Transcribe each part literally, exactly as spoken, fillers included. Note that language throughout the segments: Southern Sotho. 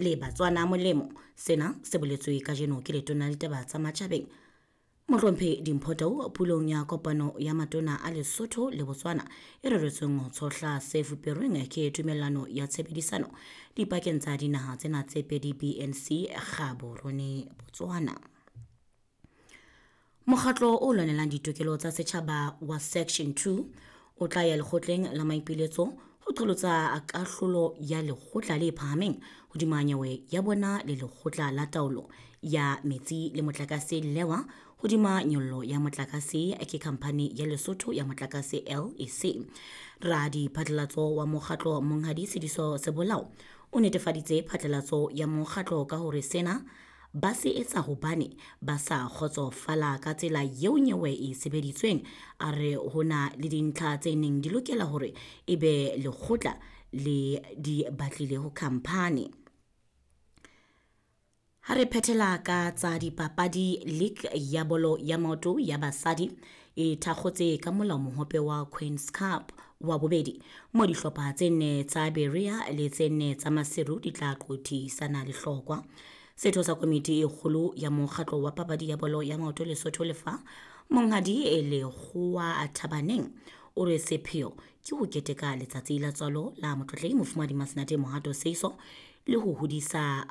Le Batswana molemo. Sena se boletswe kajeno ke letona la ditaba tsa matjhabeng Mohlomphehi Dimpho Tau pulong ya kopano ya matona a Lesotho le Botswana e reretsweng ho tshohla se fuperweng ke tumellano ya tshebedisano dipakeng tsa dinaha tsena tse pedi B N C Gaborone Botswana. Mokgatlo o lwanelang ditokelo tsa setjhaba wa Section two o tla ya lekgotleng la maipiletso ho qholotsa kahlolo ya lekgotla le phahameng hodima nyewe ya bona le lekgotla la taolo ya metsi le motlakase Lewa hodima nyollo ya motlakase ke khamphani ya Lesotho ya motlakase L E C. Radiphatlalatso wa mokgatlo Monghadi Sediso Sebolao o netefaditse phatlalatso ya mokgatlo ka hore sena ba se etsa hobane ba sa kgotsofala ka tsela eo nyewe e sebeditsweng. A re ho na le dintlha tse neng di lokela hore ebe lekgotla le di batlile ho khamphani. Ha re phethela ka tsa dipapadi, League ya bolo ya maoto ya basadi e thakgotse ka molao mohope wa Queen's Cup wa bobedi mo dihlopha tse nne tsa Berea le tse nne tsa Maseru di tla qothisana lehlokwa. Setho sa komiti e kgolo ya mokgatlo wa papadi ya bolo ya maoto Lesotho Lefa Monghadi Lekgowa Thabaneng o re sepheo ke ho keteka letsatsi la tswalo la motlotlehi Mofumahadi Masenate Mohato Seiso le ho hodisa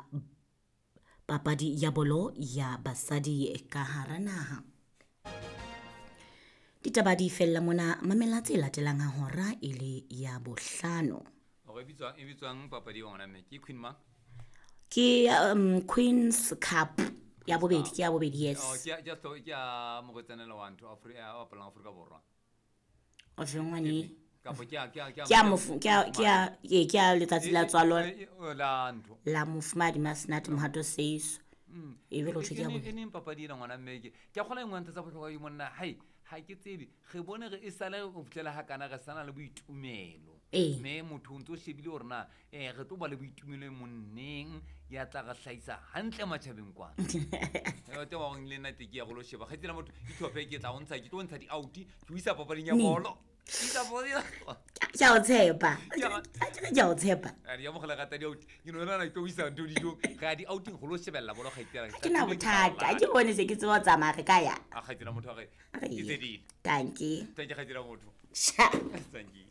papadi ya bolo ya basadi ka hara naha. Ditaba di fella mona, mamela tse latelang ha hora e le ya bohlano. Hore e bitswang, e bitswang papadi ya ngwana mme ke Queen mang? Ke um, Queen's Cup ya bobedi, ke ya bobedi, yes. Oh, ke ya, ke ya hlo-, ke ya morwetsanela wa ntho, Afri-, ya bapalang Afrika Borwa. O feng ngwane? Kapo ke ya, ke ya, ke ya Ke ya mofu-, ke ya, ke ya, ee, ke ya letsatsi la E, e, tswalo. e, e, la ntho. La mofumahadi Masenate Mohato Seiso. Mm. E be lotho ke ya E, e, bobedi. e neng papadi ena ngwana mme ke? Ke a kgolwa e nngwe ya ntho tsa bohlokwa ke monna, hai, ha ke tsebe. Re bone re e sale ho fihlela ha kana re sana le boitumelo. Ee. Mme motho o ntso shebile hore na, eh, re tlo ba le boitumelo e monneng ya tla re hlahisa hantle matjhabeng kwana. Eh, teng wa hore le nna teng ke ya go lo sheba. Kgaitsedi ya motho, itlhophe ke tla o ntsha, ke tlo ntsha di-out, ke o isa papading ya Neng? bolo. Ke isa papading ya bolo. Ke a o tshepa. Ke a Ke a o tshepa. A di amohela rata di-out. Ke no nahana ke tlo o isa ntho dijong. Re ya di-outing go lo shebella bolo, kgaitsedi ya ka. Ha ke na bothata. Ha ke bone se ke tseba ho tsamaya re ka ya. A kgaitsedi ya motho a re, Re ke ye. tse ding. Tanki. Tanki, kgaitsedi ya motho. Sha. Tanki.